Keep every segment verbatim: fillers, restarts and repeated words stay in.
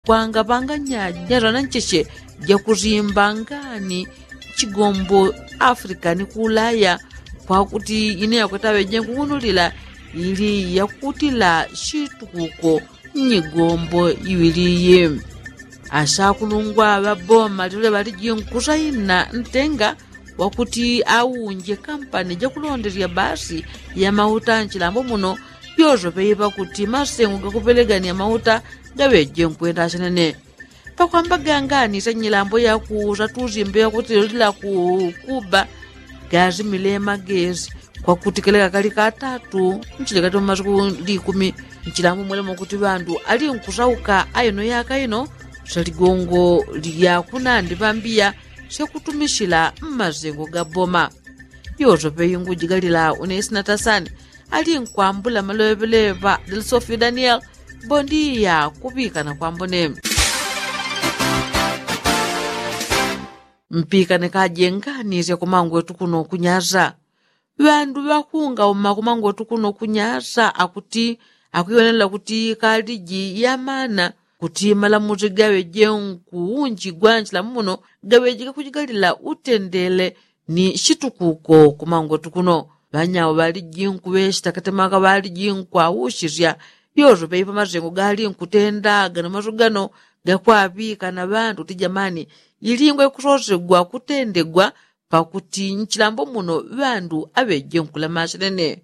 kwanga panganya jazana ncheche jakusimba ngani chigombo afrika ni kuulaya kwakuti ine yakwetaŵe jenkuwunulila ili yakutila shitukuko nyigombo iwili iyi. Ashakulungwa ŵaboma lilole ŵalijinkusaina ntenga wakuti aunje kampani jakulondelya basi ya mauta nchilambo muno. Yosope iŵa kuti masengo gakupelegania mauta gaŵeje nkwenda shenene. Pakwamba gangani shanyilambo yakusa tusimbe yakuti lolila ku kuba gasimile magesi kwakuti kele kakali katatu nchilekati mumasiku likumi. Nchilambo mwelemo kuti ŵandu alinkusauka aino yaka ino shaligongo lyakunandi ŵambiya shakutumishila mmasengo ga boma. Yosope ingujigalila unesina tasani alinkwambula maleŵeleŵa del sofi daniel. Bondiya kuŵikana kwambone. Mpikane kajenganisya kumangwetu kuno kunyasa. Ŵandu ŵakungauma kumangwetu kuno kunyasa akuti akuiwonela kuti kaliji yamana kuti malamusi gaŵeje nkuunjigwa nchilamu muno gaŵeje gakujigalila utendele ni shitukuko kumangwetu kuno. Ŵanyawo ŵaliji nkuŵeshita katemaka ŵaliji nkwawushisya yosope ipo masengo gali nkutenda gano maso gano gakwaŵika na ŵandu kuti jamani ilingwa ikusosegwa kutendegwa pakuti nchilambo muno ŵandu aŵeje nkulama shenene.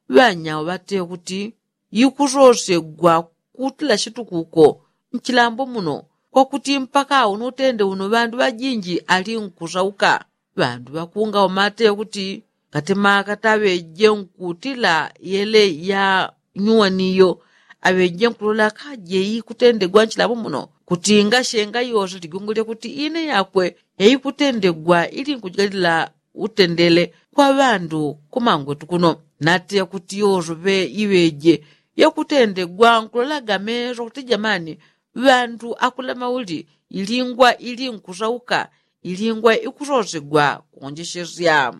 Ŵanyawo ŵateŵa kuti ikusosegwa kutila shitukuko nchilambo muno kwakuti mpaka uno utende uno ŵandu ŵajinji alinkusauka. Ŵandu ŵakungauma ateŵa kuti katemaka taŵeje nkutila yele ya nyuwaniyo aŵeje nkulola kaje ikutendegwa nchilambo muno kuti ngashenga yose ligongo lyakuti ine yakwe yaikutendegwa ili nkujigalila utendele kwa ŵandu kumangwetu kuno. Nateŵa kuti yosope iŵeje yakutendegwa nkulolaga meso kuti jamani ŵandu akulama uli ilingwa ili nkusauka ilingwa ikusosegwa kuonjeshesya.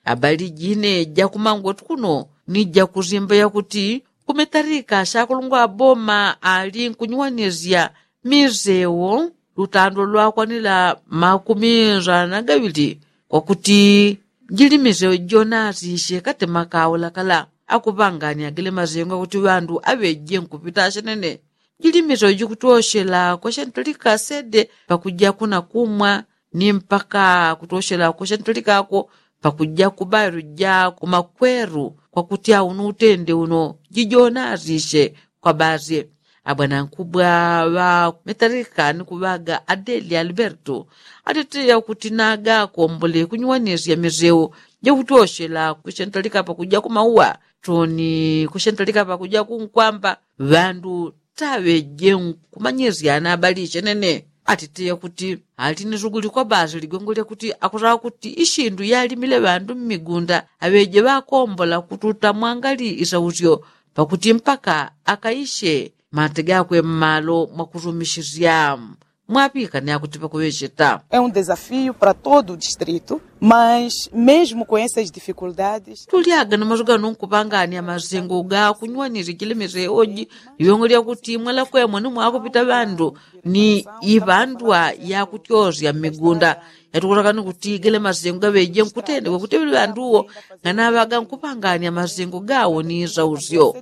Abali jine jakumangwetu kuno ni jakusimba yakuti kumetalika shakulungwa boma ali nkunyuwanisya misewo lutando lwakwanila makumi nsana na gaŵili kwakuti jili misewo jonasishe katemaka ulakala akuŵangania gele masengo akuti ŵandu aŵeje nkupita shenene. Jili misewo jikutyoshela kwashentalika sede pakuja kuna kumwa ni mpaka kutyoshela kwashentalika ako pakuja kubairo ja kumakweru kwakuti aunu utende uno jijonasishe. Kwa basi abwanankubwa ŵa metalika ni kuŵaga adeli alberto atiteya kuti naga akombole kunyuwanisya misewo jakutyoshela kwashentalika pakuja kumauwa toni kwashentalika pakuja kunkwamba ŵandu taŵeje nkumanyisyana abali shenene. Atiteya kuti ali ni suguli kwa basi ligongo lyakuti akusaka kuti ishindu yalimile ŵandu mmigunda aŵeje ŵakombola kututa mwangali isausyo pakuti mpaka akaishe mate gakwe mmalo mwakusumishisya. Mwapikane akuti pakuŵesheta. É um desafio para todo o distrito, mas mesmo com essas dificuldades. Tulyaga na maso gano nkupangania masengo ga kunywanirikile miseoji. Liwengo lyakuti mwalakwemo ni mwakupita ŵandu ni iŵandwa yakutyosya mmigunda. Yatukusakani kuti gele masengo gaŵeje nkutendekwa kuti ŵanduwo nganaŵaga nkupangania masengo gawo ni isausyo.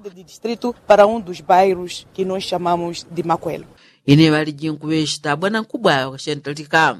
Para um dos bairros que nós chamamos de makwelo. Ine ŵaliji nkuŵeshita bwanankubwa ŵakashentalika.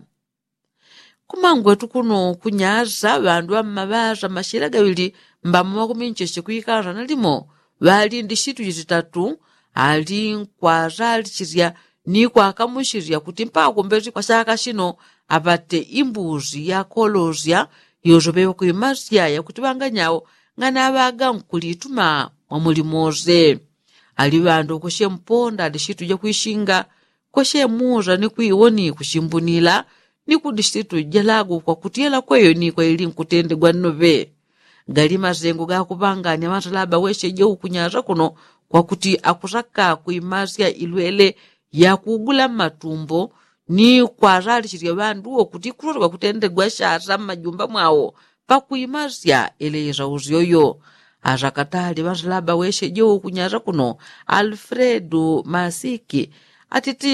Kumangwetu kuno kunyasa ŵandu ŵammaŵasa mashila gaŵili mbamo makumi ncheche kuikansa na limo ŵalindi shitu jititatu ali nkwasalichilya ni kwakamuchilya kuti mpaka kumbesi kwa shaka shino apate imbusi yakolosya. Yosope ŵakwimasya yakuti ŵanganyawo nganaŵaga nkulituma mwa muli mose. Ali ŵandu kweshe mponda lishitu jakwishinga kweshe musa ni kwiwoni kushimbunila ni kudishitu jalago kwakuti yalakweyo ni kwaili nkutendegwa nnoŵe. Gali masengo gakuŵangania ŵansalaba weshe jeukunyasa kuno kwakuti akusaka kwimasya ilwele yakugula mmatumbo ni kwasalichilya ŵandu wo kuti kusosoka kutendegwa shasa mmajumba mwawo pakwimasya eleisa usyoyo. Asakatali ŵansalaba weshe jeukunyasa kuno alfredu masiki atitiye.